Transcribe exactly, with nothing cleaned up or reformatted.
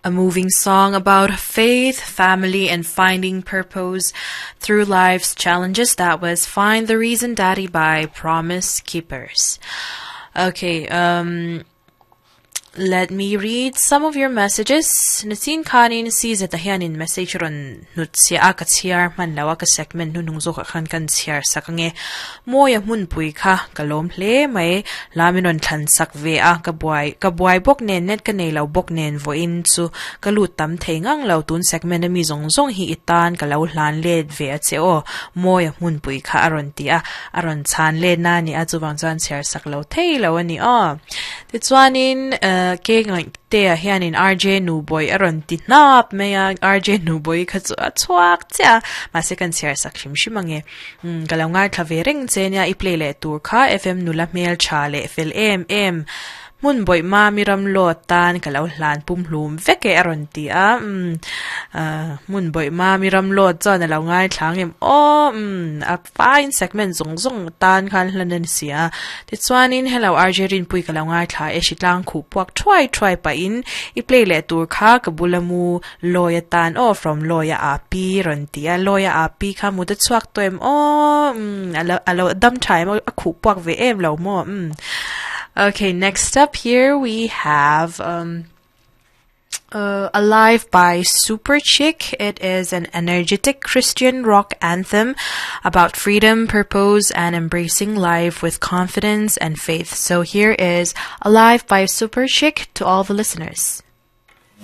A moving song about faith, family, and finding purpose through life's challenges. That was Find the Reason Daddy by Promise Keepers. Okay, um, let me read some of your messages. Nasin khanin si zeta hianin message ron nut sia a ka chhiar man lawa ka segment nu nung zo kha khan kan chhiar sakange moya mun pui kha kalom hle mai laminon thlan sak ve a ka buai ka buai bok nen net ka nei lo bok nen vo in chu ka lu tam thei ngang lo tun segment ami zong zong hi itan ka lo hlan let ve a che o moya mun pui kha aron ti a aron chan le na ni a chuwang chuan chhiar sak lo thei lo ani o ti chuanin ke ngai te a hianin R J Nuboy aron ti hnap mai a R J Nuboy kha chu a chhuak cha ma second chhiar sak hrim hrim ange ka lo ngai thla ve reng che nia i play le tur kha F M nula hmel tha le fel em em mun boi ma miram lo tan ka lo hlan pum hlum veke aron ti a mun boi ma miram lo chuan a lo ngai thlang em o a fine segment zong zong tan khan hlanen sia ti chuanin hello R J rin pui ka lo ngai thla e shitlang khu puak thuai thuai pa in i play le tur kha ka bulamu loya tan o from loya a p ron ti a loya a p kha mu ta chuak toem o alo alo dam thai mo a khu puak ve em lo mo. Okay, next up here we have um, uh, Alive by Super Chick. It is an energetic Christian rock anthem about freedom, purpose, and embracing life with confidence and faith. So here is Alive by Super Chick to all the listeners.